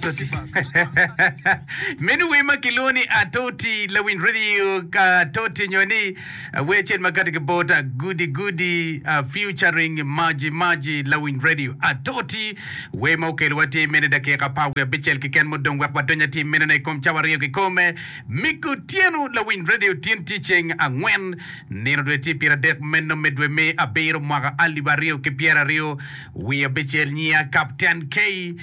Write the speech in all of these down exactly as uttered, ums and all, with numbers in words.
Atoti. Meno wer ma kilwongo ni Atoti Lawiny Radio ka Atoti nyo ni uh, wer acel ma kati ki bot uh, Goody Goody uh, featuring Maji Maji Lawiny Radio Atoti wer ma okelowa tye mene dakika apar wiye abicel keken mudong wek wadony atir menone i kom cawa aryo kikome Miko Otyeno Lawiny Radio tin tye ceng angwen nino dwe tye pyeradek meno me dwe me abiro mwaka alip aryo ki pyeraryo wiye abicel nyiya Captain K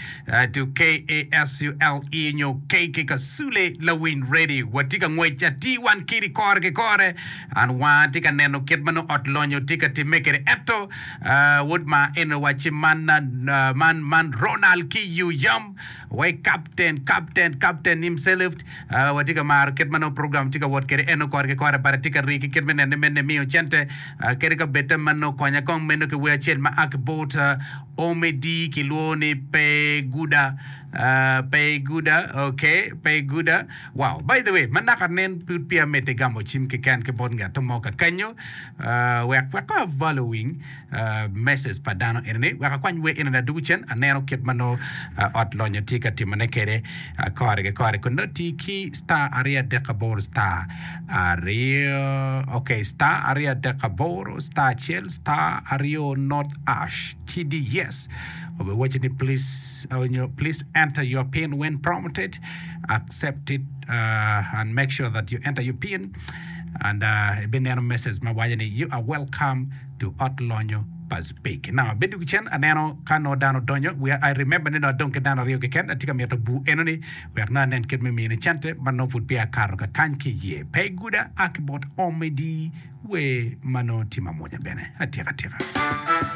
to K A S U L E nyo K K Kasule Lawiny Radio watye ka ngwec atir wan kidi kore ki kore an wanga tye ka neno kit ma nongo ot lonyo tye ka timme kwede ento uh, wod ma en owacci man, uh, man, man Ronald ki Yuyam wai captain captain captain himself uh, watye ka maro kit ma nongo program tye ka wot kwede eno kore ki kore but atye ka rii ki kit me nene mene miyo cente uh, kede ka bete ma nongo konya kong meno ki wer acel ma a ki bot uh, Omedi kilwongo ni pe guda uh, pe guda okay pe guda. Wow, by the way, ma naka nen pud peya medde gamo cim keken ki bot ngat mo ka kenyo uh, wek wek ka following uh, message pa dano enini wek akwany wer enini adugu cen aneno kit ma nongo uh, ot lonyo tye ka timone kwede uh, kore ki kore kun nongo tye ki star aryo adek aboro star aryo, okay, star aryo adek aboro star acel star aryo not hash C D yes obiwaco ni please uh, nyo, please enter your PIN when prompted, accept it uh, and make sure that you enter your PIN and uh, ibineno message ma waco ni you are welcome to ot lonyo pa Speke. Now abedo ki cen aneno ka nongo dano donyo we I remember ni nongo adong ki dano aryo keken atye ka mito bu enoni wek nongo anen kit me mine cente ma nongo pud peya akato ka kany ki iye pe guda a ki bot Omedi wer ma nongo tye mamwonya bene atika tika.